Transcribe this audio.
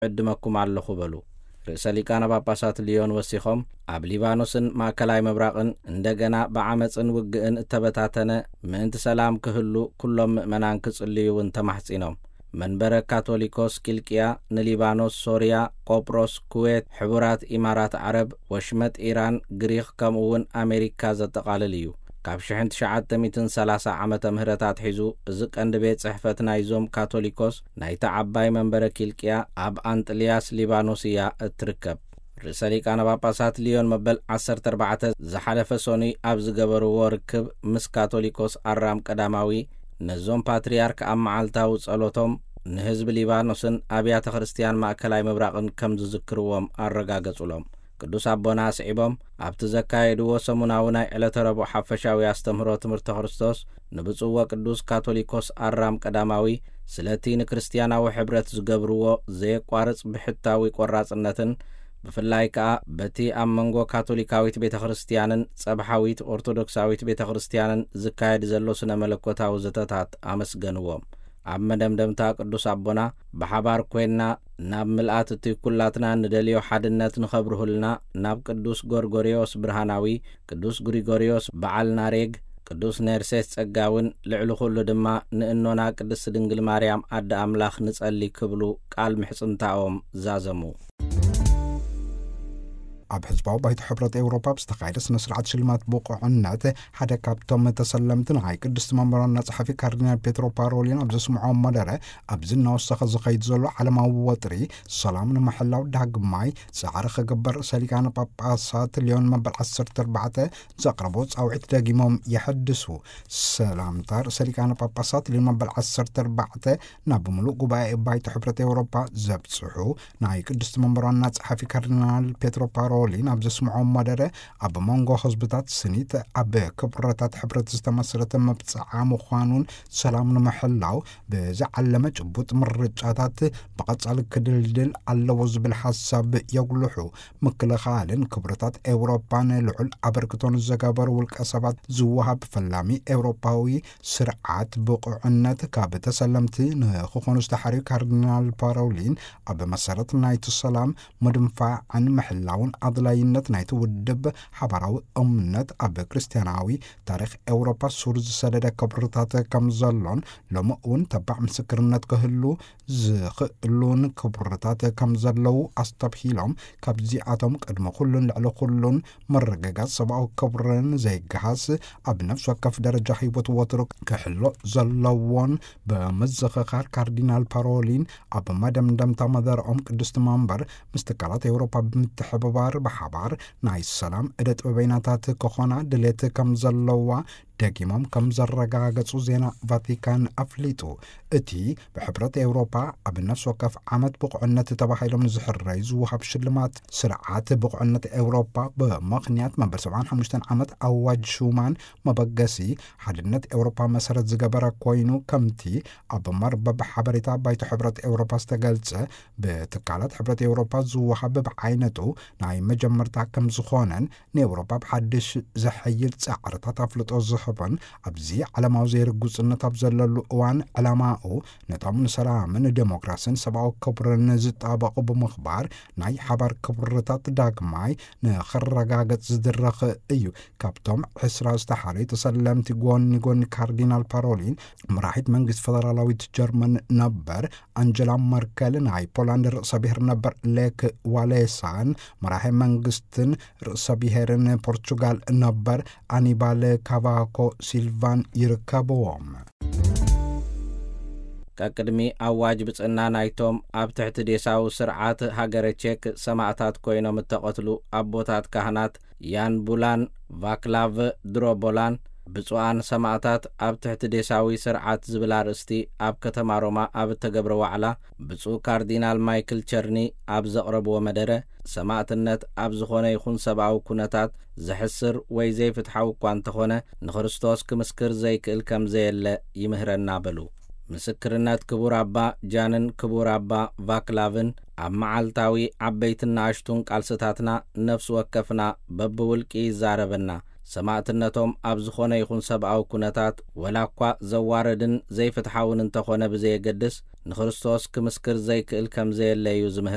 ዕድመኩም ኣለኹ በሉ። ርእሰ ሊቃነ ጳጳሳት ሊዮን ወሲኾም፣ ኣብ ሊባኖስን ማእከላይ ምብራቕን እንደገና ብዓመጽን ውግእን እተበታተነ ምእንቲ ሰላም ክህሉ ኩሎም ምእመናን ክጽልዩ እውን ተማሕጺኖም። መንበረ ካቶሊኮስ ኪልቅያ ንሊባኖስ፣ ሶርያ፣ ቆጵሮስ፣ ኩዌት፣ ሕቡራት ኢማራት ዓረብ፣ ወሽመጥ ኢራን፣ ግሪኽ ከምኡ እውን ኣሜሪካ ዘጠቓልል እዩ። ካብ ሽሕን ትሽዓተ ሚእትን ሰላሳ ዓመተ ምህረት ኣትሒዙ እዚ ቀንዲ ቤት ጽሕፈት ናይዞም ካቶሊኮስ ናይታ ዓባይ መንበረ ኪልቅያ ኣብ ኣንጥልያስ ሊባኖስ እያ እትርከብ። ርእሰ ሊቃነ ጳጳሳት ሊዮን መበል ዓሰርተ ኣርባዕተ ዝሓለፈ ሰኑይ ኣብ ዝገበርዎ ርክብ ምስ ካቶሊኮስ ኣራም ቀዳማዊ ነዞም ፓትርያርክ ኣብ መዓልታዊ ጸሎቶም ንህዝቢ ሊባኖስን ኣብያተ ክርስትያን ማእከላይ ምብራቕን ከም ዝዝክርዎም ኣረጋገጹሎም። ቅዱስ ኣቦና ኣስዒቦም፣ ኣብቲ ዘካየድዎ ሰሙናዊ ናይ ዕለተ ረቡዕ ሓፈሻዊ ኣስተምህሮ ትምህርተ ክርስቶስ ንብፁዕ ወቅዱስ ካቶሊኮስ ኣራም ቀዳማዊ ስለቲ ንክርስትያናዊ ሕብረት ዝገብርዎ ዘየቋርጽ ብሕታዊ ቆራጽነትን ብፍላይ ከኣ በቲ ኣብ መንጎ ካቶሊካዊት ቤተ ክርስትያንን ጸብሓዊት ኦርቶዶክሳዊት ቤተ ክርስትያንን ዝካየድ ዘሎ ስነ መለኮታዊ ዘተታት ኣመስገንዎም። ኣብ መደምደምታ ቅዱስ ኣቦና፣ ብሓባር ኮይንና ናብ ምልኣት እቲ ኩላትና ንደልዮ ሓድነት ንኸብርሁልና ናብ ቅዱስ ጎርጎርዮስ ብርሃናዊ፣ ቅዱስ ግሪጎርዮስ በዓል ናሬግ፣ ቅዱስ ኔርሴስ ጸጋውን ልዕሊ ኩሉ ድማ ንእኖና ቅድስት ድንግል ማርያም ኣደ ኣምላኽ ንጸሊ ክብሉ ቃል ምሕጽንታኦም ዛዘሙ። ኣብ ሕዝባዊ ባይቶ ሕብረት ኤውሮፓ ብዝተኻየደ ስነ ስርዓት ሽልማት ብቑዕነት ሓደ ካብቶም ተሰለምቲ ናይ ቅድስቲ መንበር ዋና ጸሓፊ ካርዲናል ፔትሮ ፓሮሊን ኣብ ዘስምዖ መደረ፣ ኣብዚ እናወሰኸ ዝኸይድ ዘሎ ዓለማዊ ወጥሪ ሰላም ንምሕላው ዳግማይ ጻዕሪ ክግበር ርእሰ ሊቃነ ጳጳሳት ሊዮን መበል ዓሰርተ ኣርባዕተ ዘቕረቦ ጻውዒት ደጊሞም የሐድሱ። ሰላምታ ርእሰ ሊቃነ ጳጳሳት ሊዮን መበል ዓሰርተ ኣርባዕተ ናብ ምሉእ ጉባኤ ባይቶ ሕብረት ኤውሮፓ ዘብጽሑ ናይ ቅድስቲ መንበር ዋና ጸሓፊ ካርዲናል ፔትሮ ፓሮሊን ኣብ ዘስምዖ መደረ፣ ኣብ መንጎ ህዝብታት ስኒት ኣብ ክብረታት ሕብረት ዝተመስረተ መብጽዓ ምዃኑን ሰላም ንምሕላው ብዝዓለመ ጭቡጥ ምርጫታት ብቐጻሊ ክድልድል ኣለዎ ዝብል ሓሳብ የጉልሑ። ምክልኻልን ክብረታት ኤውሮፓን ልዑል ኣበርክቶን ዘገበሩ ውልቀ ሰባት ዝወሃብ ፈላሚ ኤውሮፓዊ ስርዓት ብቑዕነት ካብ ተሰለምቲ ንክኾኑ ዝተሓርዩ ካርዲናል ፓሮሊን፣ ኣብ መሰረት ናይቲ ሰላም ምድንፋዕን ምሕላውን ኣድላይነት ናይቲ ውድብ ሓባራዊ እምነት ኣብ ክርስትያናዊ ታሪኽ ኤውሮፓ ሱር ዝሰደደ ክብርታት ከም ዘሎን ሎሚ እውን ተባዕ ምስክርነት ክህሉ ዝኽእሉን ክብርታት ከም ዘለዉ ኣስተብሂሎም፣ ካብዚኣቶም ቅድሚ ኩሉን ልዕሊ ኩሉን ምርግጋጽ ሰብኣዊ ክብርን ዘይገሃስ ኣብ ነፍሲ ወከፍ ደረጃ ህይወት ወትሩ ክሕሎ ዘለዎን ብምዝኽኻር፣ ካርዲናል ፓሮሊን ኣብ መደምደምታ መደረኦም ቅድስቲ መንበር ምስ ትካላት ኤውሮፓ ብምትሕብባር ብሓባር ናይ ሰላም ዕደ ጥበበይናታት ክኾና ድሌት ከም ዘለዋ ደጊሞም ከም ዘረጋገጹ ዜና ቫቲካን ኣፍሊጡ። እቲ ብሕብረት ኤውሮፓ ኣብ ነፍሲ ወከፍ ዓመት ብቑዕነት ተባሂሎም ንዝሕረዩ ዝወሃብ ሽልማት ስርዓት ብቑዕነት ኤውሮፓ ብምኽንያት መበል ሰብዓን ሓሙሽተን ዓመት ኣዋጅ ሹማን መበገሲ ሓድነት ኤውሮፓ መሰረት ዝገበረ ኮይኑ፣ ከምቲ ኣብ መርበብ ሓበሬታ ባይቶ ሕብረት ኤውሮፓ ዝተገልጸ፣ ብትካላት ሕብረት ኤውሮፓ ዝወሃብ ብዓይነቱ ናይ መጀመርታ ከም ዝኾነን፣ ንኤውሮፓ ብሓድሽ ዘሐይል ጻዕርታት ኣፍልጦ ዝህብን፣ ኣብዚ ዓለማዊ ዘይርጉጽነት ኣብ ዘለሉ እዋን፣ ዕላማኡ ነቶም ንሰላምን ዴሞክራስን ሰብኣዊ ክብርን ዝጣበቑ ብምኽባር፣ ናይ ሓባር ክብርታት ዳግማይ ንኽረጋገጽ ዝድረኽ እዩ። ካብቶም ዕስራ ዝተሓረዩ ተሰለምቲ፣ ጎኒ ጎኒ ካርዲናል ፓሮሊን፣ መራሒት መንግስቲ ፈደራላዊት ጀርመን ነበር ኣንጀላ መርከል፣ ናይ ፖላንድ ርእሰ ብሔር ነበር ሌክ ዋሌሳን፣ መራሒ መንግስትን ርእሰ ብሔርን ፖርቹጋል ነበር ኣኒባል ካቫኮ ሲልቫን ይርከብዎም። ቀቅድሚ ኣዋጅ ብጽና ናይቶም ኣብ ትሕቲ ዴሳዊ ስርዓት ሃገረ ቼክ ሰማእታት ኮይኖም እተቐትሉ ኣቦታት ካህናት ያን ቡላን ቫክላቭ ድሮቦላን፣ ብፁዓን ሰማእታት ኣብ ትሕቲ ዴሳዊ ስርዓት ዝብል ኣርእስቲ ኣብ ከተማ ሮማ ኣብ እተገብረ ዋዕላ፣ ብፁዕ ካርዲናል ማይክል ቸርኒ ኣብ ዘቕረብዎ መደረ፣ ሰማእትነት ኣብ ዝኾነ ይኹን ሰብኣዊ ኩነታት ዘሕስር ወይ ዘይፍትሓዊ እኳ እንተኾነ፣ ንክርስቶስ ክምስክር ዘይክእል ከም ዘየለ ይምህረና በሉ። ምስክርነት ክቡር ኣባ ጃንን ክቡር ኣባ ቫክላቭን ኣብ መዓልታዊ ዓበይትን ንኣሽቱን ቃልስታትና ነፍሲ ወከፍና በብውልቂ ይዛረበና። ሰማእትነቶም ኣብ ዝኾነ ይኹን ሰብኣዊ ኩነታት፣ ወላ እኳ ዘዋርድን ዘይፍትሓውን እንተኾነ ብዘየገድስ፣ ንክርስቶስ ክምስክር ዘይክእል ከም ዘየለ እዩ ዝምህር።